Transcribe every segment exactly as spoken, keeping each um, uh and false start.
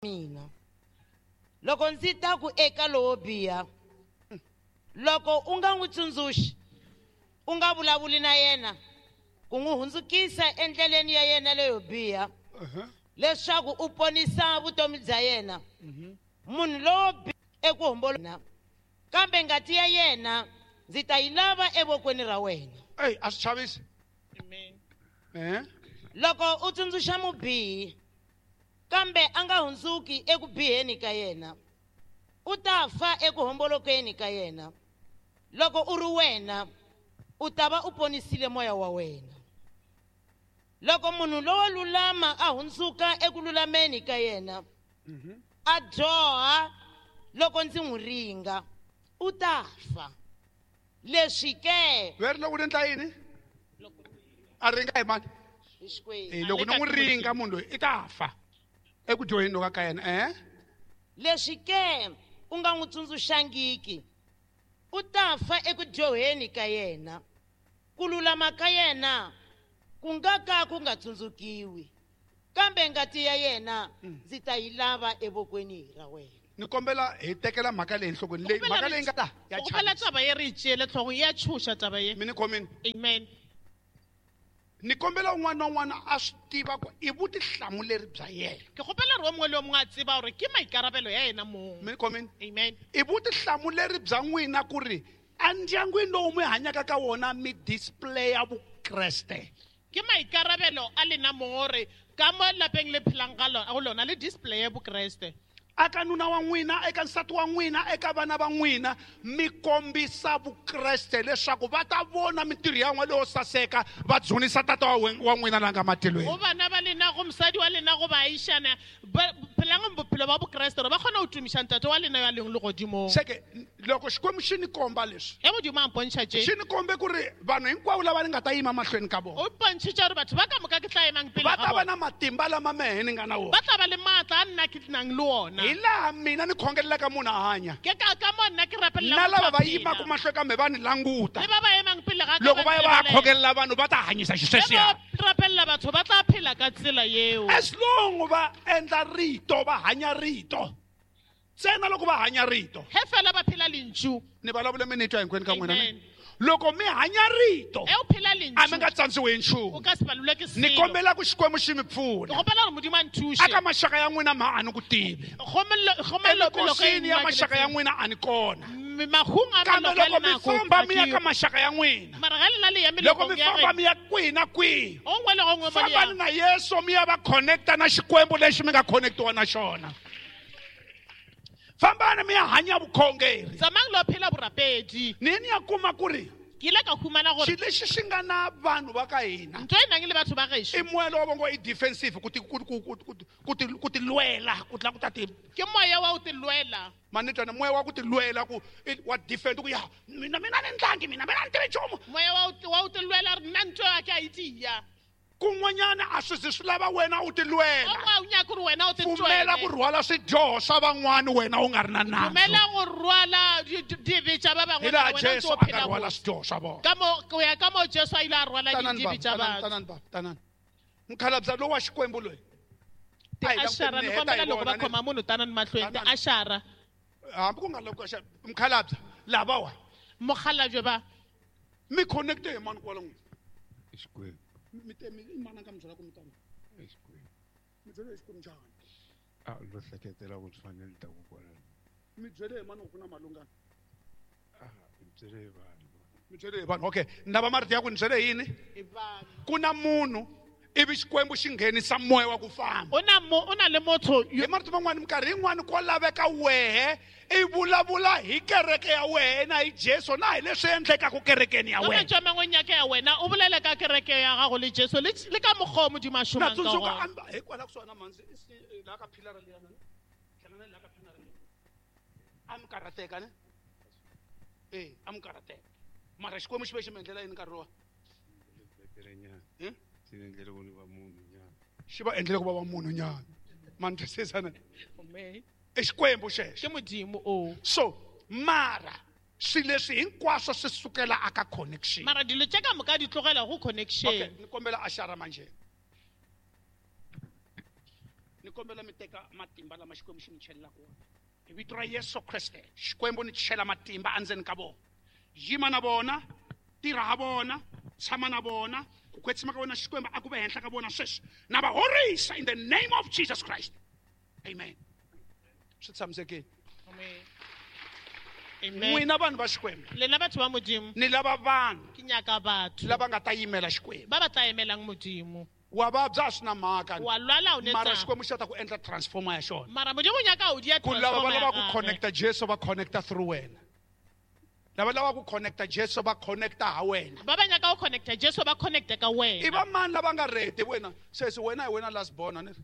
Mina loko ndzi ta ku eka lowo biha, loko u nga n'wi tsundzuxi, u nga vulavuli na yena ku n'wi hundzukisa endleleni ya yena leyo biha, leswaku u ponisa vutomi bya yena, munhu lowo biha eku hombolokeni, kambe ngati ya yena ndzi ta yi lava evokweni ra wena. Ey, a swi chavisi. Amen. Eh? Loko u tsundzuxa mubihi, kambe a nga hundzuki eku biheni ka yena, u ta fa eku hombolokeni ka yena. Loko u ri wena, u ta va u ponisile moya wa wena. Loko munhu lowo lulama a hundzuka eku lulameni ka yena, a dyoha loko ndzi n'wi ringa, u ta fa. Leswi ke Veri loko ni endla yini? A ringa hi mani? Hi Xikwembu. Eh, loko ni n'wi ringa munhu loyi i ta fa eku dyoheni loka ka yena, eh? Leswi ke u nga n'wi tsundzuxangiki, u ta fa eku dyoheni ka yena. Ku lulama ka yena ku nga ka ku nga tsundzukiwi, kambe ngati ya yena ndzi ta yi lava evokweni ra wena. Ni kombela hi tekela mhaka leyi enhlokweni leyi, Kombela mhaka ri leyi nga ta ya kombela chavisa. Taba ye re e tšeele tlhogong, ya tšhoša taba ye. Mi ni khomini? Amen. Ni kombela un'wana na un'wana a swi tiva ku i vutihlamuleri bya yena. Ke kgopela gore o mongwe le o mongwe a tseba gore ke maikarabelo ya yena mong. Mi ni khomini? Amen. I vutihlamuleri bya n'wina ku ri endyangwini lowu mi hanyaka ka wona mi displaya Vukreste. Ke maikarabelo a lena mong gore ka mo lapeng le phelang ka lona, go lona le displaye Bokreste. Aka nuna wa n'wina, eka nsati wa n'wina, eka vana va n'wina, mi kombisa Vukreste leswaku va ta vona mintirho ya n'wina leyo saseka, va dzunisa tata wa wen-, wa n'wina la nga matilweni. Go bana ba lena, go mosadi wa lena, go baagišana, ba phelang bophelo ba Bokreste gore ba kgone go tumiša ntate wa lena yo a leng legodimong. Seke loko Xikwembu xi ni komba leswi, Ge Modimo a mpontšha tše, xi ni kombe ku ri vanhu hinkwavo lava ni nga ta yima mahlweni ka vona, o mpontšhitše gore batho ba ka moka ke tla emang pele va ga ta va bona. na matimba lama mehe ni nga na wona. Ba tla ba le maatla a nna ke nang le wona. Hi laha mina ni khongelelaka munhu a hanya. Ke ka, ka mo nna ke rapelela Na motho lava a va phela. yimaka mahlweni ka me va ni languta. Le ba ba emang pele ga ka Loko ba va ya va ya ntebelela. khongelela vanhu va ta hanyisa xisweswiya. Le ba rapelela batho ba tla phela ka tsela yeo. As long va endla rito, va hanya rito. Ntsena loko va hanya rito. He fela ba phela lentšu. Ni vulavule mi ni twa hinkwenu ka n'wina, ne? Amen. Loko mi hanya rito, Ge o phela lentšu, a mi nga tsandziwi hi nchumu. o ka se palelwe ke Ni selo. kombela ku Xikwembu xi mi pfuna. Ke kgopela gore Modimo a nthuše. Aka maxaka ya n'wina ma a ni ku tivi. Go mollo, go mollo pelo ka Emikosini ya nna ke maxaka ya le n'wina a ni kona. tsebe. Mahung a Kambe maloko a loko mi lena a ko famba mi ya ke ka maxaka ya n'wina, Mara ga lena le ya loko mi melokong ya famba geno. mi ya kwihi na kwihi, O nngwe le go nngwe mo le fambani yang. na Yesu mi ya va connecta na Xikwembu lexi mi nga connectiwa na xona. Fambani mi ya hanya vukhongeri. Tsamayang lo phela borapedi. Ni ni ya kuma ku ri Ke ile ka humana gore xilo lexi xi nga na vanhu va ka hina ntho e nang le batho ba gešo i moya lowu va ngo i defensive, ku ti, ku, ku, ku, ku, ku ti, ku ti lwela, ku tla ku ta ti ke moya wa go ti lwela. Manitwana, moya wa ku ti lwela, ku i wa defend, ku ya mina, mina ni ndlangi, mina, mina ni tivi nchumu. Moya wa go ti, wa go ti lwela re nna ntho ya ka a e tia. Kun'wanyana a swi zi swi lava wena u ti lwela. O mongwe a o nyake gore wena o ti Pfumela twele. ku rhwala swidyoho swa van'wani wena u nga ri na nandzu. Pfumela go rhwala di-, di-, dibe tša ba bangwe, Hi laha wena o ntse Jesu o a nga phela rhwala botse. swidyoho swa vona. Ka mo, go ya ka mo Jesu a ile a rhwala Tanani dibe baba, tša tanani, batho. tanani baba, tanani. Mukhalabye lowu wa Xikwembu loyi. Ti A hi languteni ashara, ni ni heta kombela hi loko va vona, ni- khoma munhu tanani mahlweni, ti Tanani. ashara. Hambi ku nga loko xa mukhalabye lavawa. Mokgalabje ba. Mi connecte hi mani kwala n'wina? Xikwembu. Mi te, mi, i mani a nga mi byela ku mi tana? Xikwembu. Mi byele hi Xikwembu njhani? A lo hleketela ku swi fanele ta ku kwala. Mi byele hi mani ku na malungana? Ah, mi byele hi vanhu. Mi byele hi vanhu. Okay, ni lava marito ya ku ni byele hi yini? Hi vanhu. Ku na munhu ivi Xikwembu xi nghenisa moya wa ku famba. O na mo, o na le motho yo Hi marito man'wani, minkarhi yin'wani ko laveka wehe i vulavula hi kereke ya wena, hi Jesu, na hi leswi endlekaka kerekeni ya Ka wena. mantswe a mangwe nyaka ya wena, o bolele ka kereke ya gago le Jesu, le, le ka mokgwa o Modimo a Na šomang ka tsundzuka, gona. a mi, hikwalaho kusuhani na mhandzi, i si, laha ka philara liyana, ne? Hlangana laha ka philara liya. A mi karhateka, ne? Eh, a mi karhateka. Mara Xikwembu xi ve xi mi endlela yini nkarhi lowa? Betere nyana. Hmm? Xi ni endlele ku ni va munhu nyana. Xi va endlele ku va va munhu nyana. Ma ni twisisa na? Amen. I Xikwembu xexo. Ke Modimo o. So, mara swilo leswi hinkwaswo swi sukela aka connection. Mara dilo tše ka moka di tlogela go connection. Okay, ni kombela ashara manje. Ni kombela mi teka matimba lama Xikwembu xi mi chelelaka wona. Hi vito ra Yesu Kreste, Xikwembu ni chela matimba endzeni ka vona. Yima na vona, tirha ha vona, tshama na vona, ku kwetsima ka vona Xikwembu a ku ve henhla ka vona sweswi. Na va horisa in the name of Jesus Christ. Amen. Swi tshamisekile. Amen. Amen. N'wina vanhu va Xikwembu. Lena batho ba Modimo. Ni lava vanhu. Ke nyaka batho. Lava nga ta yimela Xikwembu. Ba ba tla emelang Modimo. Wa vabya swi na mhaka. Wa lwala u ne Mara tsa. Xikwembu xi ta ku endla transformer ya xona. Mara Modimo o nyaka o dia Ku lava va transformer lava ya ku gagwe. connecta Jesu va connecta through wena. Lava lava ku connecta Jesu va connecta ha wena. Ba ba nyaka go connecta Jesu ba connecta ka wena. I va mani lava nga ready wena? Sesi wena hi wena last born a ni ri?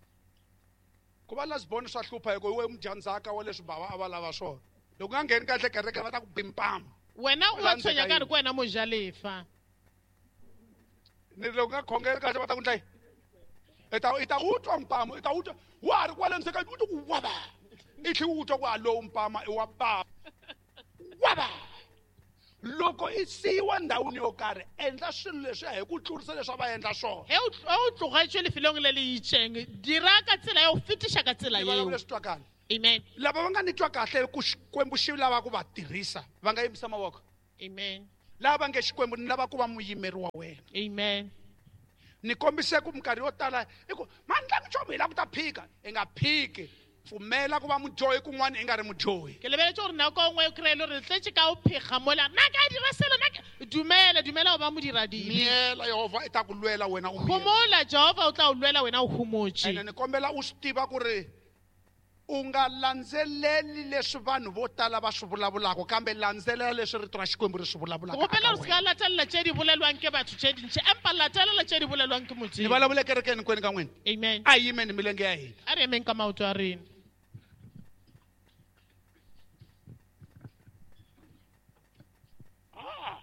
Ku va last born swa hlupha hi ku hi we mudyandzhaka wa leswi bava a va lava swona. Loko u nga ngheni kahle kereke va ta ku bimpama. Wena u Va wa landzeka tshwenya ka ri yini? ke wena mojalefa. Ni ri loko u nga khongeli kahle va ta ku ndla yini? I ta, i ta wu twa mpama, i ta wu twa. Wa ha ri kwale ndzeni ka u twa ku wava. I tlhe u twa ku a lowu mpama i wa bava. Wava. Loko i siyiwa ndhawini yo karhi, endla swilo leswiya hi ku tlurisa leswi a va endla swona. He o tl-, he o tlogetšwe lefelong le le itšeng, dira ka tsela ya go fetiša ka tsela Ni vulavula yeo. leswi twakala. Amen. Lava va nga ni twa kahle ku Xikwembu xi lava ku va tirhisa, va nga yimisa mavoko. Amen. Lava va nge Xikwembu ni lava ku va muyimeri wa wena. Amen. Ni kombise ku minkarhi yo tala i ku mani la nchumu hi lava ku ta phika, i nga phiki. Pfumela ku va mudyohi kun'wana i nga ri mudyohi. Ke lebeletse gore nako nngwe o kry-e le gore re tletse ka o phega mola. Nna ka dira selo, nna ke-, dumela, dumela go ba modiradibe. Miyela, Yehovha i ta ku lwela wena u miyela. Homola, Jehovha o tla o lwela wena o homotse. Ene ni kombela u swi tiva ku ri u nga landzeleli leswi vanhu vo tala va swi vulavulaka, kambe landzelela leswi rito ra Xikwembu ri swi vulavulaka Gopela eka gore se ka wena. latelela tse di bolelwang ke batho tse dintsi, empa latelela tse di bolelwang ke Modimo. Ni vulavula ekerekeni hinkwenu ka n'wina. Amen. A hi yimeni milenge ya hina. A re emeng ka maoto a rena. Ah,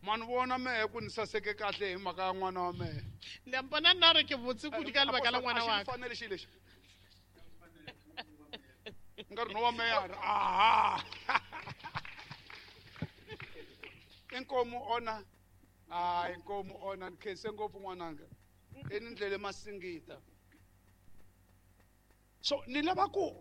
ma ni vona mehe ku ni saseke kahle hi mhaka ya n'wana wa mehe. Le a mpona nna gore ke botse kudu ka lebaka la ngwana A xi wa ni ka. fanele xilo lexi. Nkarhi no wa mehe a ri, aha. Inkomu ona. Ah, inkomu ona. Ni khense ngopfu n'wananga. I ni ndlele masingita. So ni lava ku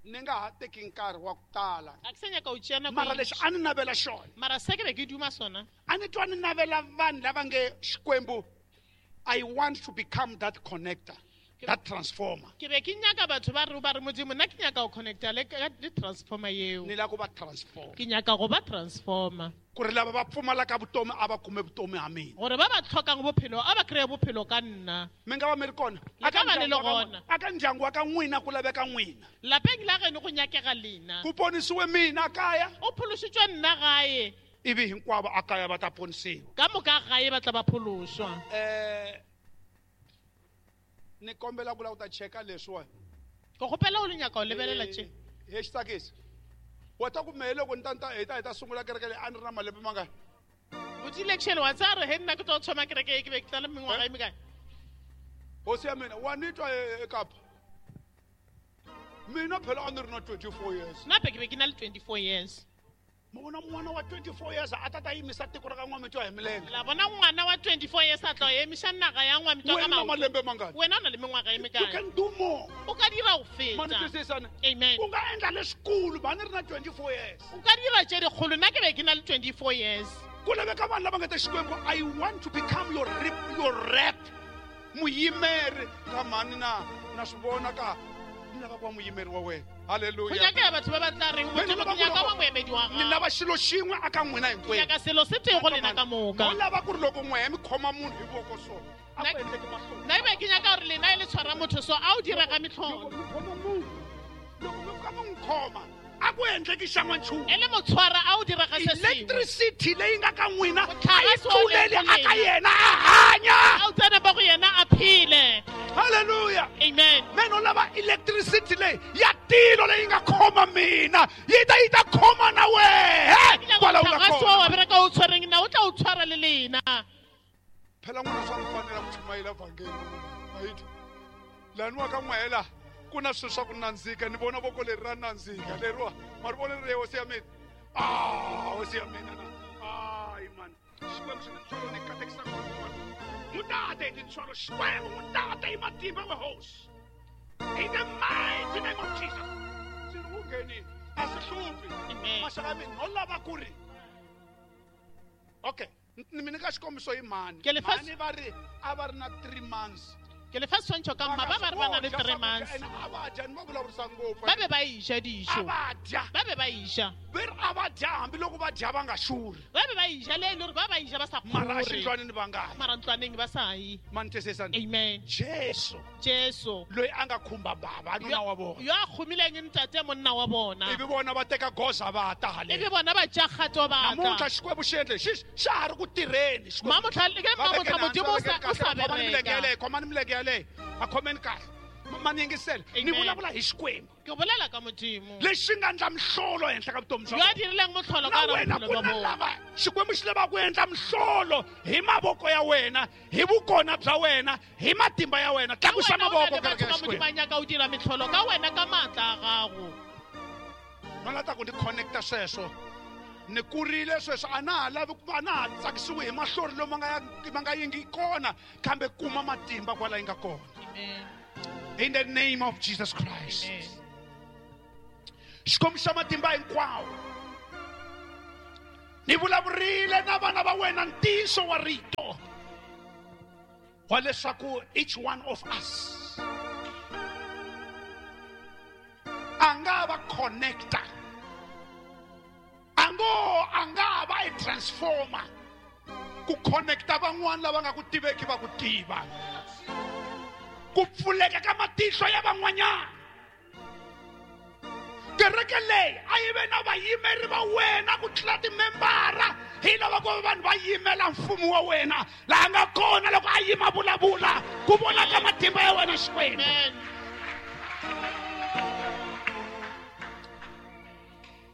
ni nga ha teki nkarhi wa ku tala. A ke sa nyaka ho tšea nako Mara e lexi ntši. a ni navela xona. Mara se ke be ke duma sona. A ni twa ni navela vanhu lava nge Xikwembu, I want to become that connector, that transformer. Ke be ke nyaka batho ba re ba re Modimo, nna ke nyaka go connecta le ka le transformer yeo. Ni lava ku va transformer. Ke nyaka go ba transformer. Ku ri lava va pfumalaka vutomi a va kume vutomi ha mina. Gore ba ba tlhokang bophelo a ba kry-e bophelo ka nna. Mi nga va mi ri kona? Le ka Aka ba le le ndyangu wa ka gona. aka ndyangu wa ka n'wina ku laveka n'wina. Lapeng la geno go nyakega lena. Ku ponisiwe mina kaya. O phološitšwe nna gae. Ivi hinkwavo a kaya va ta ponisiwa. Ka moka gae ba tla ba phološwa. Eh, ni kombela ku lava ku ta cheka leswiwani. Ke kgopela o le nyaka ho lebelela tše. He xi tsakisi. Wa ta ku mehe loko ni ta ni ta hi ta hi ta sungula kereke leyi a ni ri na malembe mangani? Botile actually, wa tsaya re he nna ke tlo thoma kereke e ke be ke tla le mengwaga e mekae? Hosi ya mina, wa ni twa e-, eKapa? Mina phela a ni ri na twenty-four years. Nna pe ke be ke na le twenty-four years. Ma vona n'wana wa twenty-four years a ta ta yimisa tiko ra ka N'wamitwa hi milenge. La bona ngwana wa twenty-four years a tla emiša naga ya N'wamitwa ka Wena na maoto. malembe mangani? Wena o na le mengwaga e You mekae? can do more. O ka dira go Ma ni feta. twisisa ne? Amen. U nga endla leswikulu, ba ni ri na twenty-four years. O ka dira tše dikgolo, nna ke be ke na le twenty-four years. Ku laveka vanhu lava nga ta Xikwembu, I want to become your rep, your rep. Muyimeri ka mhani na, na swi vona ka ni lava ku va muyimeri wa wena. Hallelujah. Go nyakega batho ba ba tla reng, Mina Modimo, lava ke nyaka ku ba moemedi wa Ni gago. lava xilo xin'we aka n'wina Ke hinkwenu. nyaka selo se tee go lena ka moka. No lava ku ri loko n'we mi khoma munhu hi voko so, a Nna ku endleki mahlori. nna ebe ke nyaka gore lena e le tshwara motho so, a o dira ka metlholo. Loko mi khoma munhu, loko mi fika mi n'wi khoma, a ku endleki xan'wanchumu. E le motshwara a o dira ka se sengwe. Electricity leyi nga ka n'wina Motlakase a yi wa leng tluleli go aka lena. yena a hanya. A o tsene mo go yena a phele. Hallelujah. Amen. Me no lava electricity leyi ya tilo leyi nga khoma mina, yi ta yi ta khoma na wehe. Ke nyaka Kwala u nga motlakase kona. wa wa bereka o tshwereng nna, o tla o tshwara le lena. Phela n'wina swa mi fanela ku chumayela vhangeli. Right? Lani wa ka n'wela ku na swilo swa ku nandzika, ni vona voko leri ra nandzika leriwa, ma ri vona leri hosi ya mina. Ah, hosi ya mina na. Ai man. Xikwembu xi ni tintswalo ni katekisa ngopfu. Mutate hi tintswalo, Xikwembu mutate hi matimba wa hosi. In the mighty name of Jesus. Swi a swi hluphi. Maxaka ya mina no lava ku ri okay, ni mi nyika xikombiso hi mhani. Mhani va ri a va ri na three months. Ke le fa setshwantsho ka mma ba ba re ba na le three months. A va dya ni va vulavurisa ngopfu. Ba be ba e ja dijo. A va dya. Ba be ba e ja. Ve ri a va dya hambiloko va dya va nga xurhi. Ba be ba e ja le e le gore ba ba e ja ba sa Mara kgore. xindlwanini va nga yi. Mara ntlwaneng ba sa yi. Ma ni twisisa ni? Amen. Jesu. Jesu. Loyi a nga khumba baba nuna wa vona. Yo a khomileng ntate monna wa bona. Ivi vona va teka goza va ta haleni. Ivi vona va tša kgato ba ta. Namuntlha Xikwembu xi endle xi xa ha ri ku tirheni Xikwembu. Mamotlha ke mamotlha Modimo o sa o sa Khomani milenge bereka. yaleyo, khomani milenge yaleyo. A khomeni kahle. Ma ni yingisela. Ni vulavula hi Xikwembu. Ke bolela ka Modimo. Lexi nga endla mihlolo ehenhla ka vutomi bya Yo a dirileng mohlolo ka Na wena bophelo ku bya na bona. lava Xikwembu xi lava ku endla mihlolo hi mavoko ya wena, hi vukona bya wena, hi matimba ya wena. Tlakusa Ka wena o na mavoko le kereke batho ya ba Modimo Xikwembu. a nyaka o dira mehlolo ka wena ka maatla a gago. No lava ku ni connecta sweswo. Ni kurile sweswo a na ha lavi ku a na ha tsakisiwi hi mahlori lomu nga ya ma nga yingi kona kambe kuma matimba kwala yi nga kona. Amen. In the name of Jesus Christ. Amen. Xikwembu xa matimba hinkwawo. Ni vulavurile na vana va wena ntiyiso wa rito wa leswaku each one of us a nga va connector, a ngo a nga va a transformer ku connecta van'wana lava nga ku tiveki va ku tiva, ku pfuleka ka matihlo ya van'wanyana. Kereke leyi a yi ve na vayimeri va wena ku tlula timembara, hi lava ku va vanhu va yimela mfumo wa wena laha nga kona loko a yima vulavula ku vonaka matimba ya wena Xikwembu. Amen.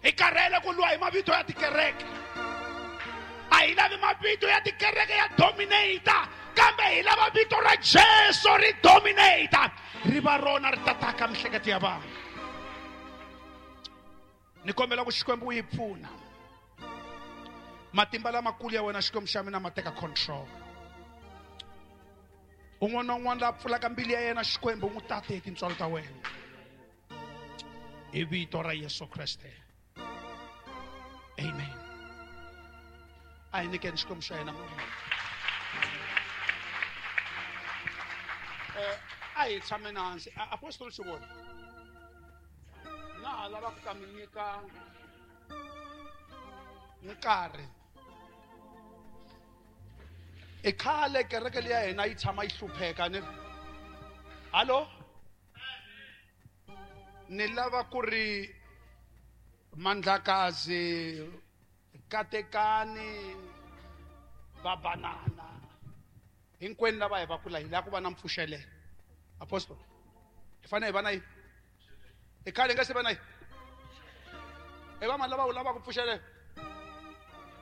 Hi karhele ku lwa hi mavito ya tikereke. A hi lavi mavito ya tikereke ya dominata, kambe hi lava vito ra Jesu ri dominata, ri va rona ri tataka mihleketo ya vanhu. Ni kombela ku Xikwembu u yi pfuna. Matimba lamakulu ya wena Xikwembu xa mina ma teka control. Un'wana na un'wana la pfulaka mbilu ya yena Xikwembu n'wi tate hi tintswalo ta wena. Hi vito ra Yesu Kreste. Amen. A hi nyikeni Xikwembu xa hina mavoko. Eh, a hi tshameni hansi. Apostoli Xivoni, na ha lava ku ta mi nyika nkarhi. I khale kereke leyi ya hina yi tshama yi hlupheka ni ri. Hallo? Ni lava ku ri Mandlakazi, Katekani, Babanana, hinkwenu lava hi va kula hi lava ku va na mpfuxelelo. Apostoli, hi fanele hi va na yini? Hi khale hi nga se va na yini? I va mani lava wu lavaka mpfuxelelo?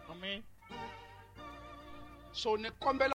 Amen. So ni kombela